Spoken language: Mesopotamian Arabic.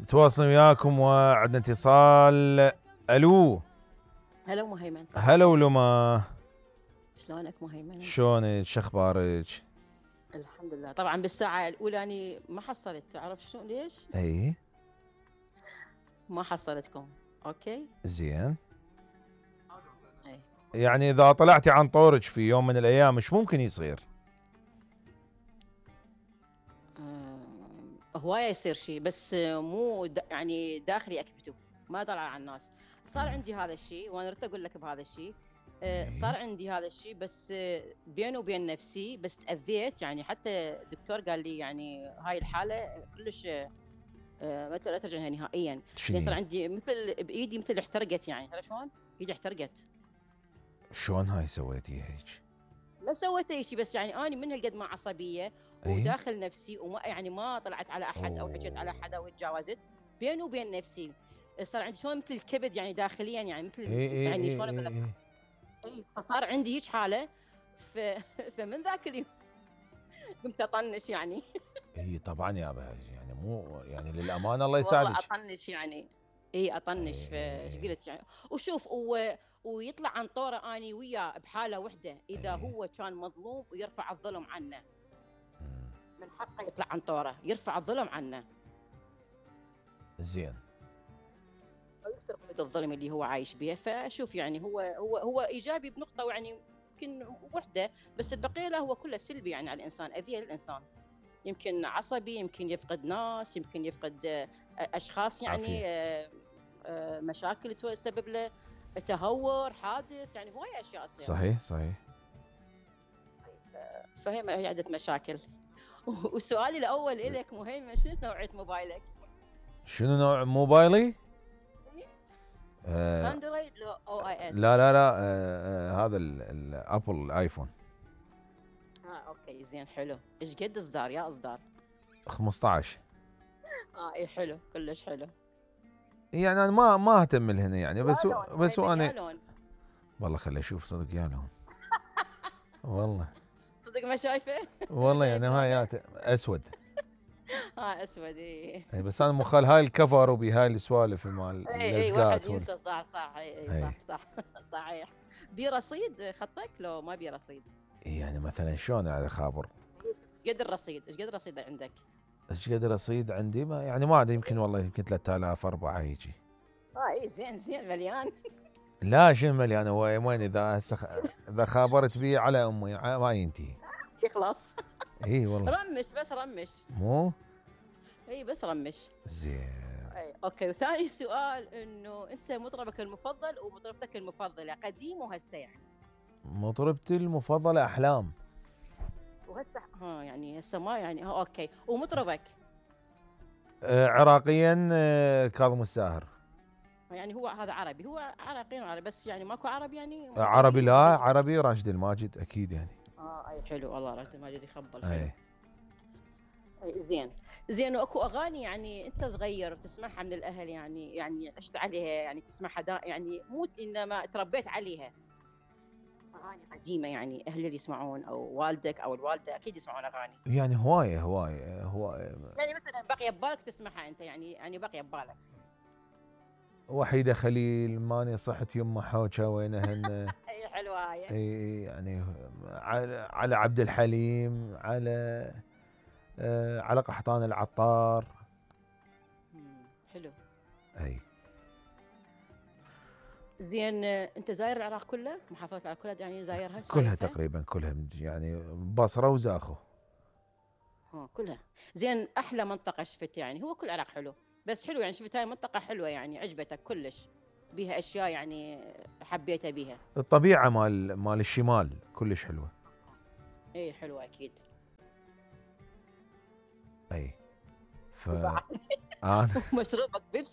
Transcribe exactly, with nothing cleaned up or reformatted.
نتواصل وياكم وعندنا اتصال. الو. هلا مهيمن. هلا ولما. شلونك مهيمن؟ شلونك؟ شخبارك؟ الحمد لله. طبعا بالساعة الأولى أني ما حصلت، تعرف شو ليش؟ اي ما حصلتكم. اوكي زين. أي. يعني اذا طلعتي عن طورك في يوم من الايام مش ممكن يصير؟ أم، هواية يصير شيء بس مو د... يعني داخلي أكبته، ما طلع على الناس. صار عندي هذا الشيء وأنا ردت أقول لك بهذا الشيء. أه، صار عندي هذا الشيء بس أه، بيني وبين نفسي، بس تأذيت يعني. حتى الدكتور قال لي يعني هاي الحالة كلش أه، مثل لا ترجع نهائيا. يعني صار عندي مثل بإيدي مثل احترقت، يعني تعرف شلون؟ إيدي احترقت. شلون هاي سويتي هيك؟ ما سويت اي شيء، بس يعني اني من هالقد ما عصبيه وداخل نفسي، وما يعني ما طلعت على احد او حكيت على حدا وتجاوزت بيني وبين نفسي. صار عندي شلون مثل الكبد يعني داخليا، يعني مثل إيه إيه يعني إيه شلون اقول لك إيه اي. فصار عندي هيك حاله. ف... فمن ذاك اليوم قمت اطنش يعني. اي طبعا يا بهاج، يعني مو يعني للامانه الله والله يساعدك. اطنش يعني. اي اطنش. فايش قلت يعني. وشوف و... ويطلع عن طوره اني وياه بحاله وحده، اذا ايه. هو كان مظلوم ويرفع الظلم عنه، من حقه يطلع عن طوره يرفع الظلم عنه. زين. ويكسر قيود الظلم اللي هو عايش بها. فشوف يعني هو هو هو ايجابي بنقطه يعني يمكن وحده، بس البقيه لا، هو كله سلبي يعني على الانسان، اذيه للانسان. يمكن عصبي، يمكن يفقد ناس، يمكن يفقد آه، اشخاص يعني. آه، آه، مشاكل تسبب له، تهور، حادث، يعني هواي اشياء تصير. صحيح صحيح. فهي عده مشاكل. وسؤالي الاول الك مهيمن، شنو نوعيه موبايلك؟ شنو نوع موبايلي؟ آه اندرويد لو او اي اس؟ لا لا لا، آه آه هذا الابل الايفون. اه اوكي زين حلو. ايش قد اصدار يا اصدار؟ خمسطعش. اه اي حلو، كلش حلو. يعني انا ما ما اهتم لهنا يعني، بس يا لون بس مهيمن، وانا يا لون. والله خلي اشوف صدق يا لون. والله صدق ما شايفه. والله يعني شايف لونه؟ هاي اسود. اه اسود. اي اي بس انا مخال هاي الكفر وبهاي السوالف مال اي اي واحد اللزقات وال... ينسى. صح صح. اي اي اي صح صح. صحيح. بي رصيد خطك لو ما بي رصيد؟ يعني مثلا شلون على خابر؟ ايش قد الرصيد؟ ايش قد الرصيد عندك؟ ايش قد رصيد عندي؟ ما يعني ما ادري، يمكن والله يمكن ثلاثة آلاف أربعة هيجي. اه اي زين زين مليان. لا شو مليان، هو وين اذا سخ... اذا خابرت بي على امي ما ينتهي. يخلص. اي والله. رمش بس رمش. مو اي بس رمش. زين. اي اوكي. وثاني سؤال، انه انت مطربك المفضل ومطربتك المفضله قديم وهسه يعني؟ مطربتي المفضلة أحلام. وهسه ها يعني هسه ما يعني ها اوكي. ومطربك؟ آه عراقيا، آه كاظم الساهر. يعني هو هذا عربي، هو عراقي وعربي بس يعني ماكو عربي يعني آه عربي، لا مفضلين؟ عربي راشد الماجد اكيد يعني. اه اي حلو والله، راشد الماجد يخبل حلو. اي. اي زين. زين. واكو اغاني يعني انت صغير تسمعها من الاهل، يعني يعني عشت عليها، يعني تسمعها دا يعني مو انما تربيت عليها، اغاني قديمه يعني اهلي اللي يسمعون او والدك او الوالده اكيد يسمعون اغاني. يعني هواية هواية هواية. يعني مثلا بقي ببالك تسمعها انت، يعني يعني بقي ببالك؟ وحيدة خليل، ماني صحت يمه حوجة وينهن. اي حلوه هاي. اي يعني على, على عبد الحليم، على آه على قحطان العطار. حلو. اي. زين. انت زاير العراق كله، محافظات العراق كلها يعني زايرها كلها شايفها؟ تقريبا كلها يعني بصرة وزاخو. ها كلها. زين. احلى منطقه شفت يعني؟ هو كل العراق حلو بس حلو يعني شفت هاي منطقه حلوه يعني عجبتك كلش، بيها اشياء يعني حبيتها بيها؟ الطبيعة مال مال الشمال كلش حلوة. اي حلوه اكيد. اي. ف وبعد انا مشروبك بيبسي